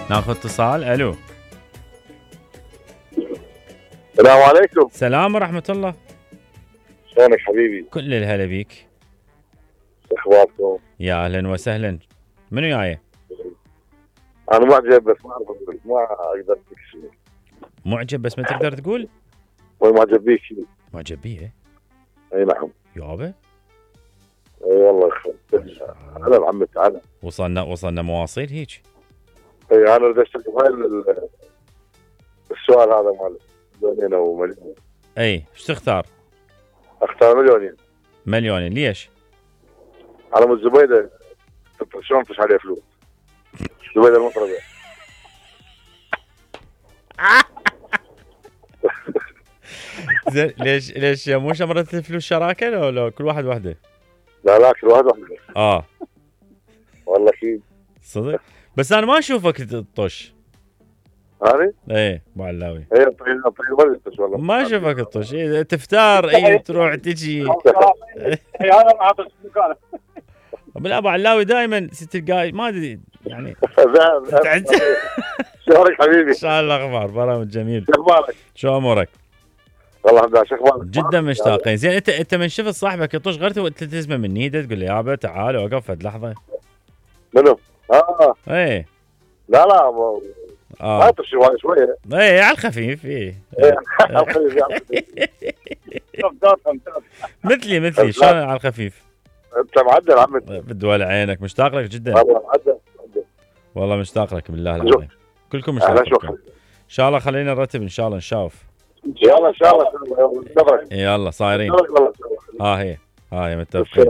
ناخذ اتصال. الو. السلام عليكم. سلام ورحمة الله. شلونك حبيبي؟ كل الهلا بيك. اخباركم؟ يا اهلا وسهلا. منو جاي؟ انا معجب بس ما اعرف اقول، ما اقدر اقول شيء. معجب بس ما تقدر تقول؟ معجب بيك شيء. معجب بيه؟ اي نعم. يابا. اي والله هلا عمي تعال. وصلنا مواصيل هيك. اي انا اريد اشترك بهاي السؤال هذا مال مليونين او مليون. اي ايش تختار؟ اختار مليونين. مليونين ليش؟ على مود زبيده شلون تفش عليه فلوس؟ زبيده المطربه. زين ليش مو شمرت الفلوس شراكه لو كل واحد وحده؟ لا كل واحد وحده. والله اكيد. صدق؟ بس انا ما اشوفك تطش. هذه؟ ايه ابو علاوي. هي طيب ولا تطش والله. ما اشوفك تطش، تفتار تروح تجي. انا ما اعطيك مكانه. لا ابو علاوي دائما تلقى ما ادري يعني. شلونك حبيبي؟ ان شاء الله اخبار برامج جميل. شو اخبارك؟ شو امورك؟ والله الحمد لله. شو اخبارك؟ جدا مشتاقين. زين انت من شفت صاحبك يطش غير تلتزمه من ايده تقول له يابا تعال وقف فد لحظه؟ منو؟ ايه. لا ما يطش شويه. ايه على الخفيف. ايه على الخفيف. مثلي شلون على الخفيف؟ انت معدل عمي. بدول عينك مشتاق لك جدا. والله معدل. والله مشتاق لك بالله العظيم. كلكم مشتاقين. ان شاء الله خلينا نرتب ان شاء الله نشوف. يلا ان شاء الله. يلا صايرين. والله هي متفقين.